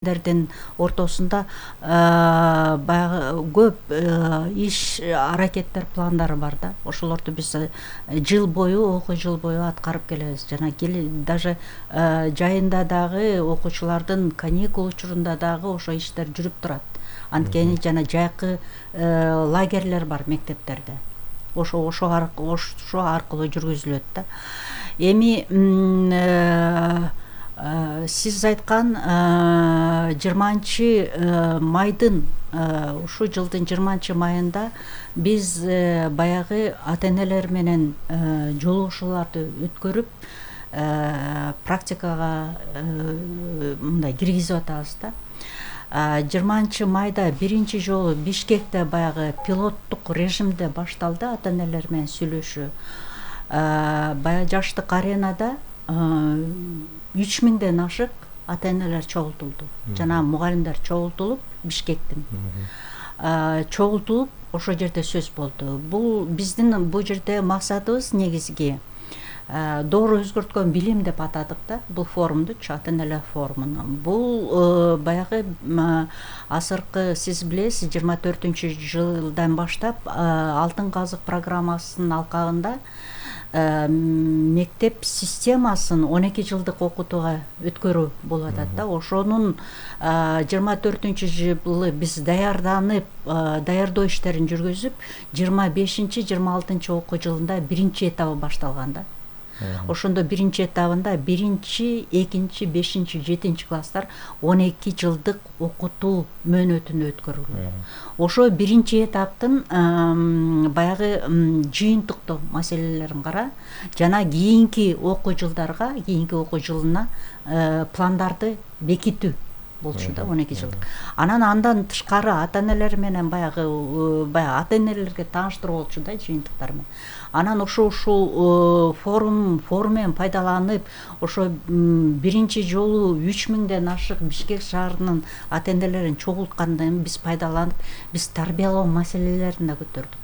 дердин ортосунда баягы көп иш аракеттер, пландары бар да. Ошолорду биз жыл бою, окуу жыл бою аткарып келебиз. Жана даже жайында дагы окуучулардын каникул учурунда дагы ошо иштер жүрүп турат. Анткени жана жайкы лагерлер бар мектептерде. Ошо аркылуу жүргүзүлөт да. Эми сиз айткан 20-майдын ушул жылдын 20-майында биз баягы ата-энелер менен жолугушууларды өткөрүп практикага мындай киргизип атабыз да. 20-майда биринчи жолу Бишкекте баягы пилоттук режимде башталды ата-энелер менен сүйлөшүү. Баягы жаштык аренада 3000ден ашык ата-энелер чогултулду. Жана мугалимдер чогултулуп, Бишкектин чогултулуп, ошол жерде сөз болду. Бул биздин бул жерде максатыбыз негизги доору өзгөрткөн билим деп атадык да, бул форумдучу, ата-энелер форумун. Бул баягы азыркы сиз билесиз 24-жылдан баштап Алтын казык программасынын алкагында мектеп системасын 12 жылдык окутууга өткөрүү болуп атат да. Ошонун 24-жылы биз даярданып, даярдоо иштерин жүргүзүп, 25-26 окуу жылында биринчи этабы башталган да. Ошондо биринчи этабында 1-2, 5, 7 класстар 12 жылдык окутуу мөөнөтүн өткөрүлгөн. Ошо биринчи этаптын баягы жыйынтыктоо маселелерин кара, жана кийинки окуу жылдарга, кийинки окуу жылына пландарды бекитүү болчу да, 12 жылдык. Андан тышкары ата-энелер менен баягы ата-энелерге тааныштыруу болчу да, жыйынтыктар менен. Анан ушул форуммен пайдаланып, ошо биринчи жолу 3000ден ашык Бишкек шаарынын ата-энелерин чогулткандан кийин биз пайдаланып, биз тарбиялоо маселелерин да көтөрдүк.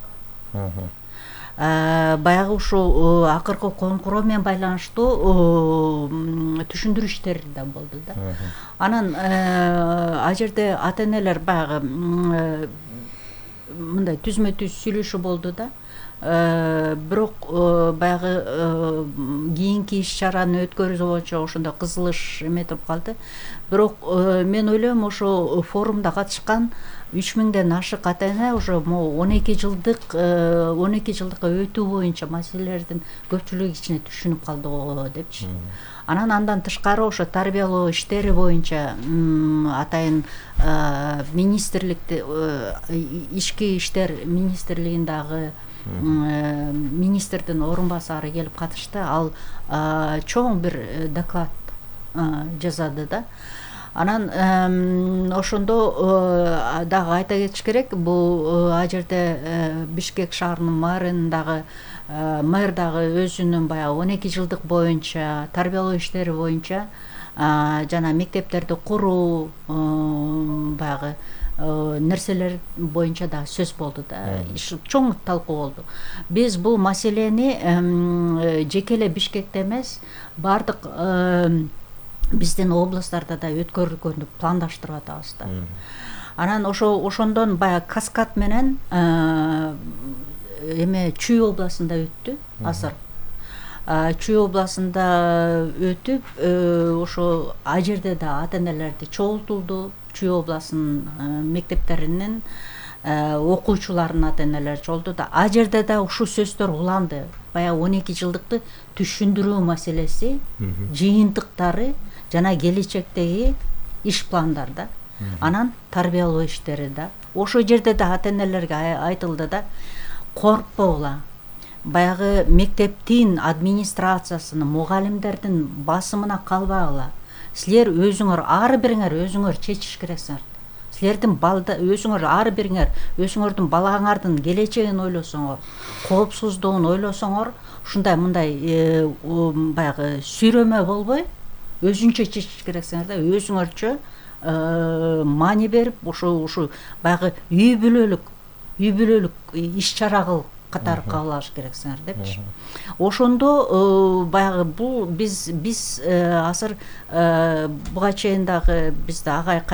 Баягы ушул акыркы конкуроо менен байланыштуу түшүндүрүү иштери да болду да. Анан ал жерде ата-энелер баягы мындай түзмө-түз сүйлөшүү болду да. Бирок баягы кийинки иш-чараны өткөрүү боюнча ошондо кызылыш эметип калды. Бирок мен ойлойм, ошо форумда катышкан 3000ден ашык ата-эне уже 12 жылдыкка өтүү боюнча маселелердин көпчүлүгү ичине түшүнүп калды го депчи. Андан тышкары ошо тарбиялоо иштери боюнча атайын министрликте, ички иштер министрлигиндагы министрдин орун басары келип катышты. Ал чоң бир доклад жасады да. Анан ошондо дагы айта кетиш керек, бул ал жерде Бишкек шаарынын мэр дагы өзүнүн баягы 12 жылдык боюнча тарбиялоо иштери боюнча жана мектептерди куруу баягы нерселер боюнча да сөз болду да. Чоң талкуу болду. Биз бул маселени жеке эле Бишкекте эмес, бардык биздин областтарда да өткөрүлгөндү пландаштырып атабыз да. Анан ошондон баягы каскад менен Чүй областында өттү азыр. Чүй областында өтүп, ошо ал жерде да ата-энелерди чогултулду. Чүй областынын мектептеринин окуучуларынын ата-энелери чогулту да. Ал жерде да ушул сөздөр уланды. Баягы 12 жылдыкты түшүндүрүү маселеси, жыйынтыктары жана келечектеги иш пландар да. Анан тарбиялоо иштери да. Ошол жерде да ата-энелерге айтылды да, коркпогула. Баягы мектептин администрациясынын, мугалимдердин басымына калбагыла. Силер өзүңөр, ар бириңер өзүңөр чечиш керексиңер. Силердин өзүңөр, ар бириңер өзүңөрдүн балаңардын келечегин ойлосоңор, коопсуздугун ойлосоңор, мындай баягы сүйрөмө болбой, өзүнчө чечиш керексиңер да. Өзүңөрчө маани берип, ушул баягы үй бүлөлүк иш-чара кыл катары кабыл алыш керексиңер депчи. Ошондо баягы бул биз азыр буга чейин дагы бизде агай